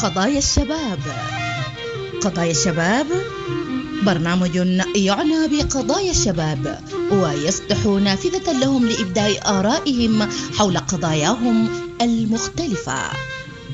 قضايا الشباب. قضايا الشباب برنامج يعنى بقضايا الشباب ويفتح نافذة لهم لإبداء آرائهم حول قضاياهم المختلفة.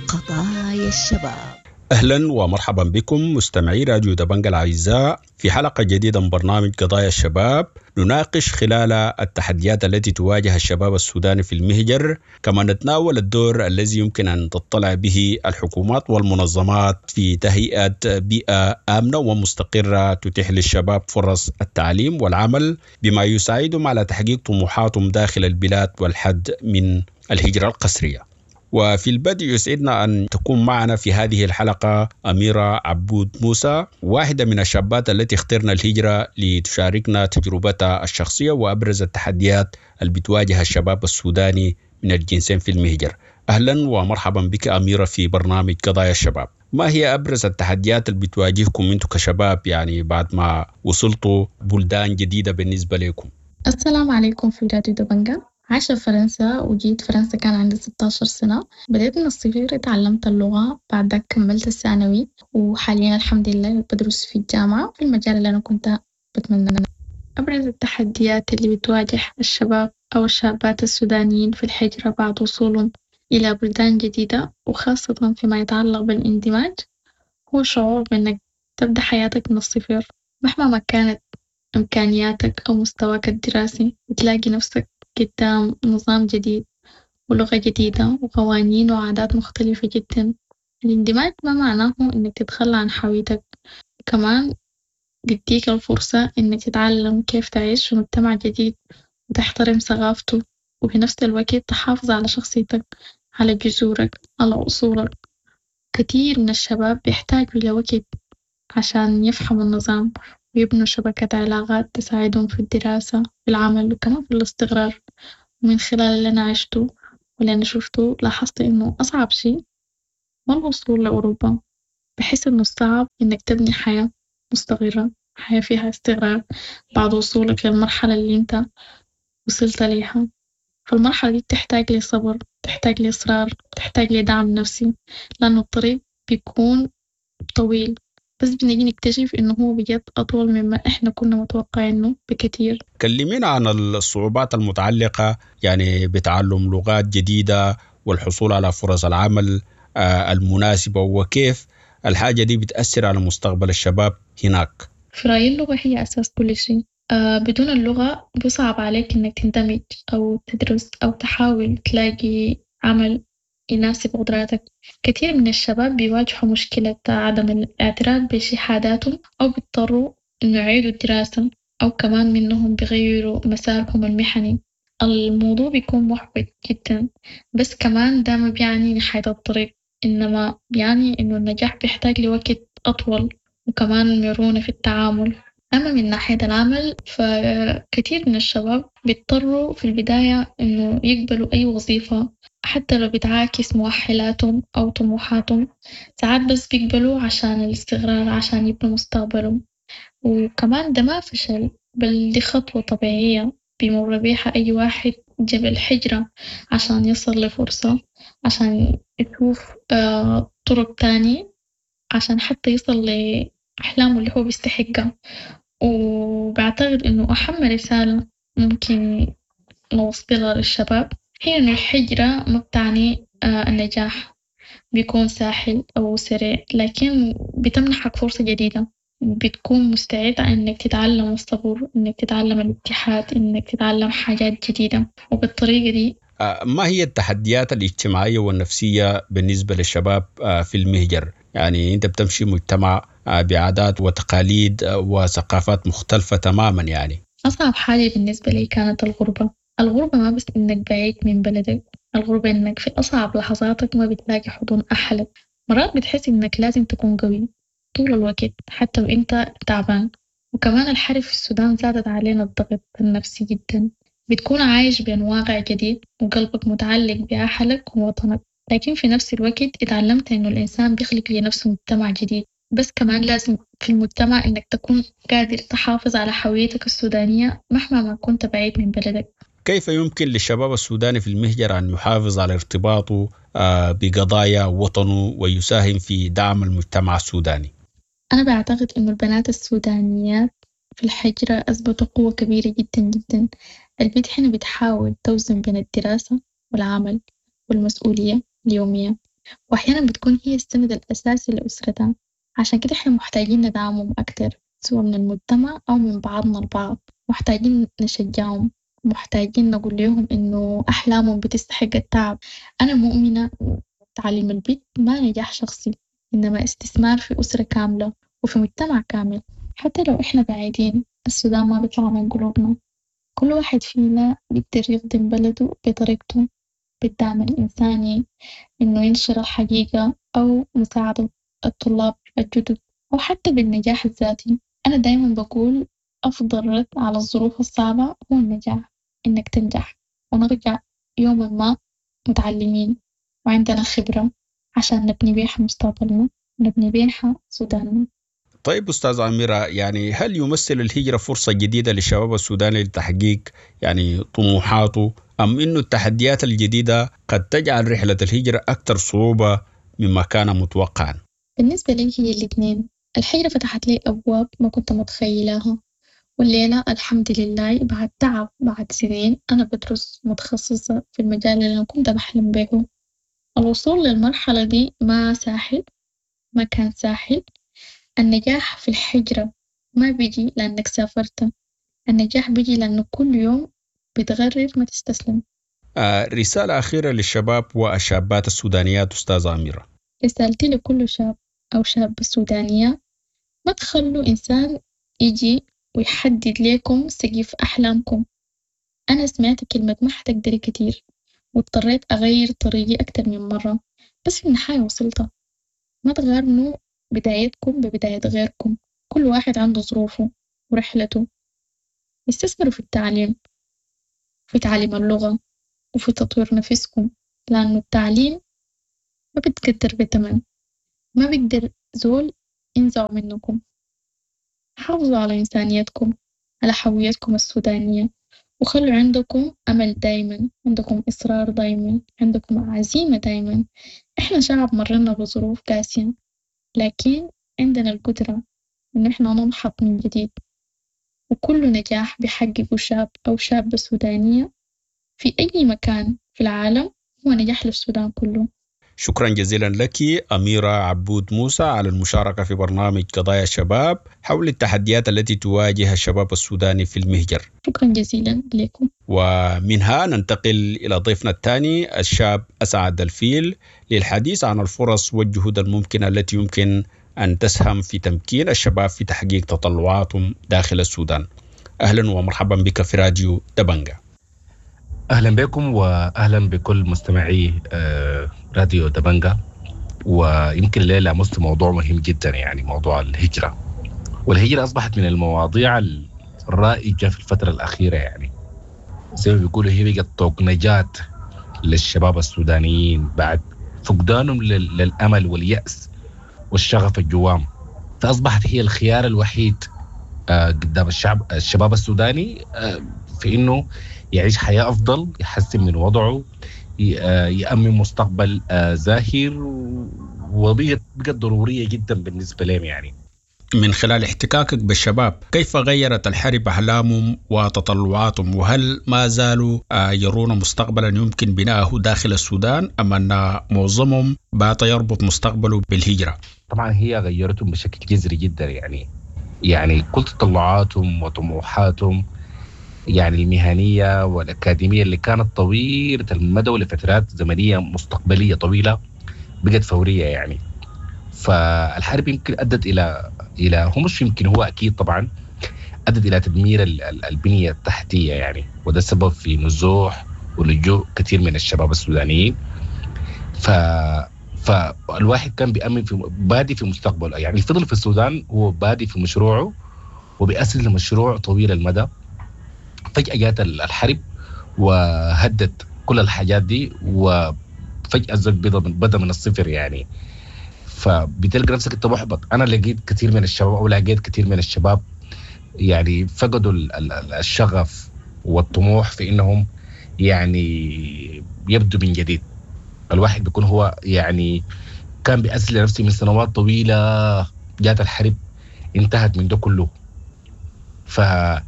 قضايا الشباب. أهلا ومرحبا بكم مستمعي راديو دبنجا الأعزاء في حلقة جديدة من برنامج قضايا الشباب، نناقش خلال التحديات التي تواجه الشباب السوداني في المهجر، كما نتناول الدور الذي يمكن أن تطلع به الحكومات والمنظمات في تهيئة بيئة آمنة ومستقرة تتيح للشباب فرص التعليم والعمل بما يساعدهم على تحقيق طموحاتهم داخل البلاد والحد من الهجرة القسرية. وفي البدء يسعدنا أن تكون معنا في هذه الحلقة أميرة عبود موسى، واحدة من الشابات التي اخترنا الهجرة لتشاركنا تجربتها الشخصية وأبرز التحديات اللي بتواجه الشباب السوداني من الجنسين في المهجر. أهلا ومرحبا بك أميرة في برنامج قضايا الشباب. ما هي أبرز التحديات اللي بتواجهكم أنتم كشباب يعني بعد ما وصلتوا بلدان جديدة بالنسبة لكم؟ السلام عليكم في راديو دبنجا. عايشة في فرنسا وجيت فرنسا كان عندي 16 سنة. بدأت من الصفر، اتعلمت اللغة، بعد ذاك كملت الثانوي، وحاليا الحمد لله بدرس في الجامعة في المجال اللي أنا كنت بتمنى. أبرز التحديات اللي بتواجه الشباب أو الشابات السودانيين في الهجرة بعد وصولهم إلى بلدان جديدة وخاصة فيما يتعلق بالاندماج هو شعور بإنك تبدأ حياتك من الصفر مهما ما كانت إمكانياتك أو مستواك الدراسي بتلاقي نفسك قدام نظام جديد ولغة جديدة وقوانين وعادات مختلفة جدا. الاندماج ما معناه إنك تتخلى عن هويتك، كمان بيديك الفرصة إنك تتعلم كيف تعيش في مجتمع جديد وتحترم ثقافته وفي نفس الوقت تحافظ على شخصيتك، على جذورك، على أصولك. كتير من الشباب بيحتاجوا لوقت عشان يفهموا النظام ويبنوا شبكة علاقات تساعدهم في الدراسة، في العمل وكمان في الاستقرار. ومن خلال اللي أنا عشتو واللي أنا شفتو لاحظت إنو أصعب شي ما الوصول لأوروبا، بحس إنو الصعب إنك تبني حياة مستقرة، حياة فيها استقرار بعد وصولك للمرحلة الإنت وصلت ليها. فالمرحلة دي بتحتاج لصبر، بتحتاج لإصرار، بتحتاج لدعم نفسي، لأنه الطريق بيكون طويل، بس بنيجي نكتشف إنه هو بجد أطول مما إحنا كنا متوقعينه بكتير. كلمينا عن الصعوبات المتعلقة بتعلم لغات جديدة والحصول على فرص العمل المناسبة، وكيف الحاجة دي بتأثر على مستقبل الشباب هناك. في رأيي اللغة هي أساس كل شيء. بدون اللغة بيصعب عليك إنك تندمج أو تدرس أو تحاول تلاقي عمل يناسب قدراتك. كثير من الشباب بيواجهوا مشكلة عدم الاعتراف بشهاداتهم أو بيضطروا إنه يعيدوا الدراسة، أو كمان منهم بيغيروا مسارهم المهني. الموضوع بيكون محبط جدا، بس كمان ده ما بيعني نهاية الطريق، إنما بيعني إنه النجاح بيحتاج لوقت أطول وكمان مرونة في التعامل. أما من ناحية العمل فكثير من الشباب بيضطروا في البداية إنه يقبلوا أي وظيفة حتى لو بتعاكس مؤهلاتهم أو طموحاتهم. ساعات بس بيقبلوا عشان الاستقرار، عشان يبنوا مستقبلهم. وكمان ده ما فشل، بل دي خطوة طبيعية بيمر بيها أي واحد جاب الحجرة عشان يصل لفرصة، عشان يشوف طرق تاني، عشان حتى يصل لأحلامه اللي هو بيستحقها. وبعتقد إنه أهم رسالة ممكن نوصلها للشباب هي إنه الحجرة ما بتعني النجاح بيكون ساحل أو سريع، لكن بتمنحك فرصة جديدة، بتكون مستعد إنك تتعلم الصبر، إنك تتعلم الاتحاد، إنك تتعلم حاجات جديدة. وبالطريقة دي ما هي التحديات الاجتماعية والنفسية بالنسبة للشباب في المهجر؟ أنت بتمشي مجتمع بعادات وتقاليد وثقافات مختلفة تماما. أصعب حاجة بالنسبة لي كانت الغربة. الغربة ما بس إنك بعيد من بلدك، الغربة إنك في أصعب لحظاتك ما بتلاقي حضن أهلك. مرات بتحس إنك لازم تكون قوي طول الوقت حتى وإنت تعبان. وكمان الحرب في السودان زادت علينا الضغط النفسي جدا. بتكون عايش بين واقع جديد وقلبك متعلق بأهلك ووطنك، لكن في نفس الوقت اتعلمت إنه الإنسان بيخلق لنفسه مجتمع جديد، بس كمان لازم في المجتمع إنك تكون قادر تحافظ على هويتك السودانية مهما ما كنت بعيد من بلدك. كيف يمكن للشباب السوداني في المهجر أن يحافظ على ارتباطه بقضايا وطنه ويساهم في دعم المجتمع السوداني؟ أنا بعتقد إنه البنات السودانيات في الحجرة أثبتوا قوة كبيرة جداً جداً. البت هنا بتحاول توزن بين الدراسة والعمل والمسؤولية اليومية وأحياناً بتكون هي السند الأساسي لأسرتها، عشان كده إحنا محتاجين ندعمهم أكتر سوا من المجتمع أو من بعضنا البعض، محتاجين نشجعهم محتاجين نقول ليهم إنو أحلامهم بتستحق التعب. أنا مؤمنة تعليم البت ما نجاح شخصي إنما استثمار في أسرة كاملة وفي مجتمع كامل. حتى لو إحنا بعيدين السودان ما بيطلع من قلوبنا، كل واحد فينا بيقدر يخدم بلده بطريقته، بالدعم الإنساني، إنه ينشر الحقيقة أو مساعدة الطلاب الجدد أو حتى بالنجاح الذاتي. أنا دايماً بقول أفضل رد على الظروف الصعبة هو النجاح، إنك تنجح ونرجع يوماً ما متعلمين وعندنا خبرة عشان نبني بيها مستقبلنا ونبني بيها سوداننا. طيب أستاذ أميرة، يعني هل يمثل الهجرة فرصة جديدة للشباب السوداني لتحقيق يعني طموحاته، أم إنه التحديات الجديدة قد تجعل رحلة الهجرة أكثر صعوبة مما كان متوقعا؟ بالنسبة لي هي الاثنين. الهجرة فتحت لي أبواب ما كنت متخيلها، والليلة الحمد لله بعد تعب بعد سنين أنا بدرس متخصصة في المجال اللي أنا كنت بحلم بيهو. الوصول للمرحلة دي ما ساهل، ما كان ساهل. النجاح في الهجرة ما بيجي لأنك سافرت، النجاح بيجي لأنه كل يوم بتغرر ما تستسلم. رسالة أخيرة للشباب والشابات السودانيات أستاذة أميرة. رسالتي لكل شاب أو شابة سودانية: ما تخلوا إنسان يجي ويحدد لكم سقف أحلامكم. أنا سمعت كلمة ما حتقدري كتير واضطريت أغير طريقي أكتر من مرة، بس في النهاية وصلت. ما تغارنوا بدايتكم ببداية غيركم، كل واحد عنده ظروفه ورحلته. استثمروا في التعليم، في تعليم اللغة وفي تطوير نفسكم، لأنه التعليم ما بتقدر بتمن، ما بيقدر زول ينزعه منكم. حافظوا على إنسانيتكم، على هويتكم السودانية، وخلوا عندكم أمل دايما، عندكم إصرار دايما، عندكم عزيمة دايما. إحنا شعب مرينا بظروف قاسية، لكن عندنا القدرة إن إحنا ننهض من جديد. وكل نجاح بيحققه شاب أو شابة سودانية في أي مكان في العالم هو نجاح للسودان كله. شكرا جزيلا لك أميرة عبود موسى على المشاركة في برنامج قضايا الشباب حول التحديات التي تواجه الشباب السوداني في المهجر. شكرا جزيلا لكم. ومنها ننتقل إلى ضيفنا الثاني الشاب أسعد الفيل للحديث عن الفرص والجهود الممكنة التي يمكن أن تسهم في تمكين الشباب في تحقيق تطلعاتهم داخل السودان. أهلا ومرحبا بك في راديو دبنجة. أهلا بكم وأهلا بكل مستمعي راديو دبنجة. ويمكن الليلة لمست موضوع مهم جدا، يعني موضوع الهجرة. والهجرة أصبحت من المواضيع الرائجة في الفترة الأخيرة، يعني زي ما بيقولوا هي بقت طوق نجاة للشباب السودانيين بعد فقدانهم للأمل واليأس والشغف الجوام. فأصبحت هي الخيار الوحيد قدام الشباب السوداني في إنه يعيش حياة أفضل، يحسن من وضعه، يأمن مستقبل زاهر، وبقت ضرورية جدا بالنسبة لهم. يعني من خلال احتكاكك بالشباب، كيف غيرت الحرب أحلامهم وتطلعاتهم؟ وهل ما زالوا يرون مستقبلا يمكن بناءه داخل السودان، أم أن معظمهم بات يربط مستقبله بالهجرة؟ طبعا هي غيرتهم بشكل جذري جدا، يعني كل تطلعاتهم وطموحاتهم يعني المهنية والأكاديمية اللي كانت طويلة المدى ولفترات زمنية مستقبلية طويلة بقت فورية. يعني فالحرب يمكن أدت إلى هو مش يمكن، هو أكيد طبعا أدت إلى تدمير البنية التحتية، يعني وده سبب في نزوح ولجوء كثير من الشباب السودانيين. فالواحد كان بيأمن في بادي في مستقبله، يعني فضل في السودان هو بادي في مشروعه وبيأسس لمشروع طويل المدى. فجأة جات الحرب وهدت كل الحاجات دي، وفجأة الزول بدأ من الصفر. يعني فبتلقى نفسك انت محبط. انا لقيت كثير من الشباب او لقيت كثير من الشباب يعني فقدوا الشغف والطموح في انهم يعني يبدو من جديد. الواحد بيكون هو يعني كان بيأسس لنفسه من سنوات طويلة، جات الحرب انتهت من ده كله. فأنا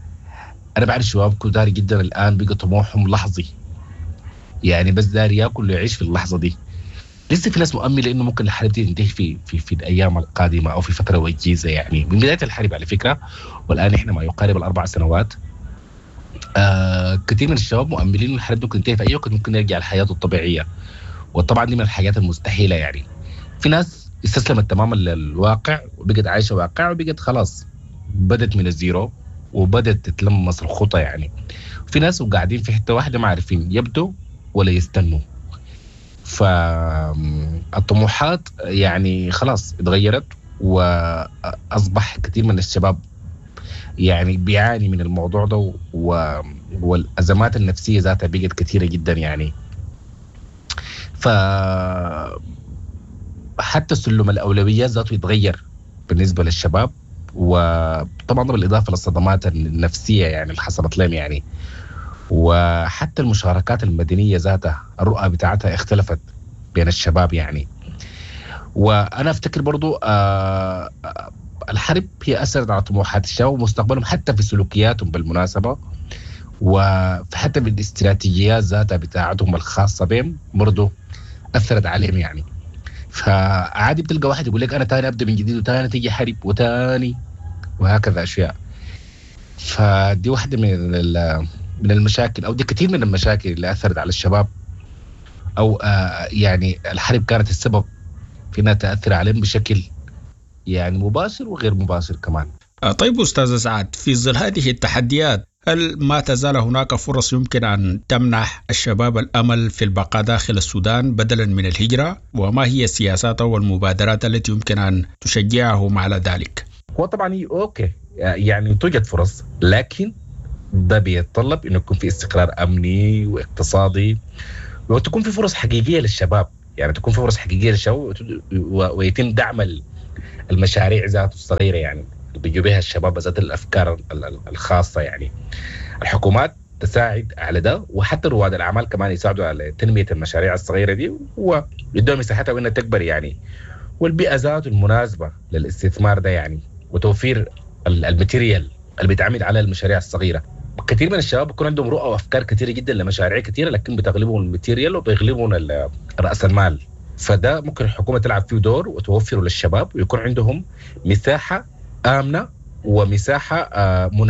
بعرف شباب كتار جدا الآن بقى طموحهم لحظي، يعني بس داري ياكل ويعيش في اللحظة دي. لسه في ناس مؤملة إنه ممكن الحرب دي تنتهي في الأيام القادمة أو في فترة وجيزة، يعني من بداية الحرب على فكرة، والآن إحنا ما يقارب 4 سنوات. كثير من الشباب مؤملين إنه الحرب ممكن تنتهي في أي وقت، ممكن يرجع لحياته الطبيعية، وطبعا دي من الحاجات المستحيلة. يعني في ناس استسلمت تماما للواقع وبقت عايشة واقع، وبقت خلاص بدت من الزيرو وبدت تتلمس الخطى. يعني في ناس وقاعدين في حتة واحدة ما عارفين يبدوا ولا يستنوا. فالطموحات يعني خلاص اتغيرت، وأصبح كثير من الشباب يعني بيعاني من الموضوع ده، والأزمات النفسية ذاتها بقت كثيرة جدا يعني. ف حتى سلم الأولويات ذاته يتغير بالنسبة للشباب، وطبعا بالإضافة للصدمات النفسية يعني اللي حصلت لهم يعني. وحتى المشاركات المدنية ذاتها الرؤى بتاعتها اختلفت بين الشباب يعني. وأنا أفتكر برضو الحرب هي أثرت على طموحات الشباب ومستقبلهم، حتى في سلوكياتهم بالمناسبة، وحتى في الاستراتيجيات ذاتها بتاعتهم الخاصة بهم برضو أثرت عليهم يعني. فعادي بتلقى واحد يقول لك أنا تاني أبدأ من جديد، وتاني تيجي حرب، وتاني وهكذا أشياء. فدي واحدة من المشاكل، أو دي كثير من المشاكل اللي أثرت على الشباب، أو يعني الحرب كانت السبب في أنها تأثر عليهم بشكل يعني مباشر وغير مباشر كمان. طيب أستاذ سعد، في ظل هذه التحديات هل ما تزال هناك فرص يمكن أن تمنح الشباب الأمل في البقاء داخل السودان بدلا من الهجرة؟ وما هي السياسات والمبادرات التي يمكن أن تشجعهم على ذلك؟ هو طبعا okay يعني توجد فرص، لكن ده بيتطلب إنه يكون في استقرار أمني واقتصادي، وتكون في فرص حقيقية للشباب، يعني تكون في فرص حقيقية للشباب، ويتم دعم المشاريع ذاته الصغيرة يعني اللي بيجوا بها الشباب ذات الأفكار الخاصة. يعني الحكومات تساعد على ده، وحتى رواد الأعمال كمان يساعدوا على تنمية المشاريع الصغيرة دي ويدوها مساحتها وإنها تكبر يعني، والبيئة ذاته المناسبة للاستثمار ده يعني، وتوفير ال material اللي بيتعمل على المشاريع الصغيرة. كثير من الشباب بيكون عندهم رؤى وأفكار كثيرة جدا لمشاريع كثيرة، لكن بتغلبهم ال material وبيغلبهم رأس المال. فده ممكن الحكومة تلعب فيه دور وتوفره للشباب، ويكون عندهم مساحة آمنة ومساحة مناسبة.